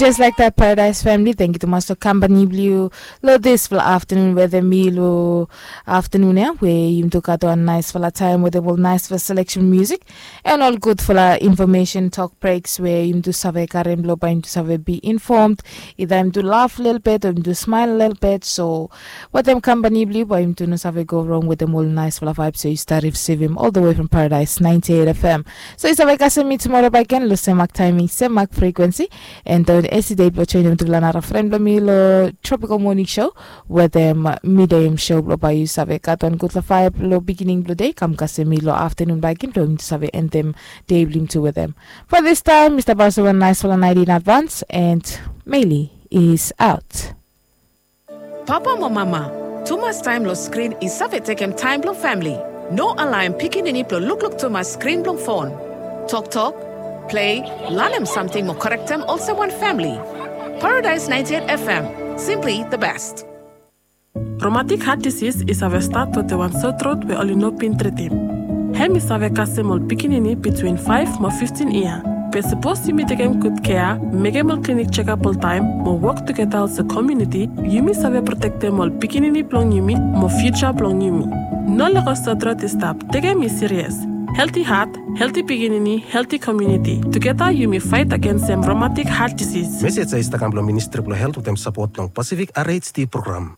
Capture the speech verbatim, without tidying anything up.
Just like that, Paradise family, thank you tumas long kampani blong yu long dispela afternoon weather mi long afternoon ya, where yum tu got one nice fella time with all nice for selection music and all good fella information talk breaks where yum tu save karim lo by yum tu save be informed. Either yum tu laugh a little bit or yum tu smile a little bit. So wetem kampani blong yu by yum tu no save go wrong wetem all nice fella vibe. So you start receive him all the way from Paradise ninety-eight F M. So you save kasem mi tomorrow by again lo semak timing, semak frequency. And don esite blong joinim tufala nara fren blong mi long Tropical Morning Show wetem midem show blong bai yu save gat wan gutpela vibe long beginning blong day kam kasem mi long afternoon bai gin blong mi tu save entem day blong mi tu wetem. For this time, Mr. Barcelona, nice fala night in advance and Meili is out. Papa mo mama, tumas taem long skrin i save tekem taem blong famili. No alaem pikinini blong lukluk tumas skrin blong fon. Toktok, plei, lanem samting mo korektem olsem wan famili. Paradise ninety-eight F M, simply the best. Romatik hat disis i save stat wetem wan sotrot we oli no bin tritim. Hem i save kasem ol pikinini bitwin faef mo fiftin yia. Be sapos yumi tekem gud kea, mekem ol klinik jekap oltaem mo wok tugeta olsem komuniti, yumi save protektem ol pikinini blong yumi mo fiuja blong yumi. No lego sotrot i stap, tekem i sirias. Helti hat, helti pikinini, helti komuniti. Tugeta yumi faet agensem romatik hat disis. Mesej ya i stap kam blong Ministri blong Helt wetem sapot blong Pasifik R H D program.